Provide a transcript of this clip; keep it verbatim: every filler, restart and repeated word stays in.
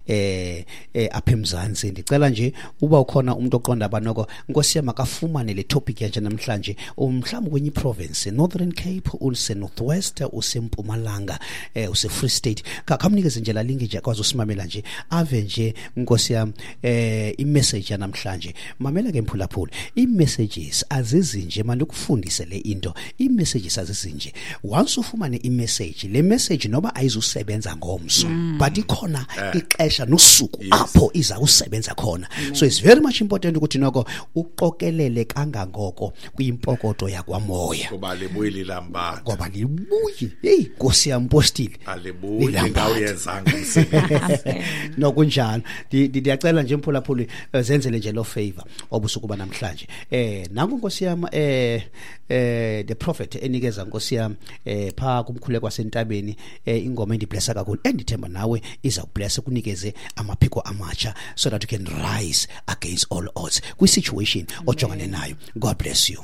eh, eh apha eMzantsi. Ndicela nje uba ukhona umuntu oqonda abanoko, Nkosi yam, makafumane le topic yanje namhlanje, mhlawumbi kwenye province, Northern Cape, use North West, useMpumalanga, eh use Free State, khamnikeze nje la link nje akwazi usimamela nje, ave nje, Nkosi yam, eh imessage yanamhlanje. Mamela ke mphulaphula, i-messages azizinje, mandikufundise le into, i-messages azizinje. Once ufumane i-message, le message noba ayizusebenza ngomso, but ikhona ixesha nosuku apho iza kusebenza khona. So it's very much important ukuthi noko uqokelele kangangoko kwimpokoto yakwamoya, ngoba libuyi lilambatha. Ngoba libuyi, hey Nkosi yam, Postile, alibuyi lilambatha. Ngawuyenzanga umsebenzi. Nokunjalo, ndiyacela nje mphulaphuli, zenzele nje lo favor obusuku banamhlanje. Eh nangu Nkosi yam, eh eh the prophet enikeza, Nkosi yam, eh pha kumkhuleko wasentabeni, eh ingoma endiblessa kakhulu, endithemba nawe iza kublessa, kunikeze amaphiko amatsha so that you can rise against all odds kwi situation ojongane nayo. God bless you.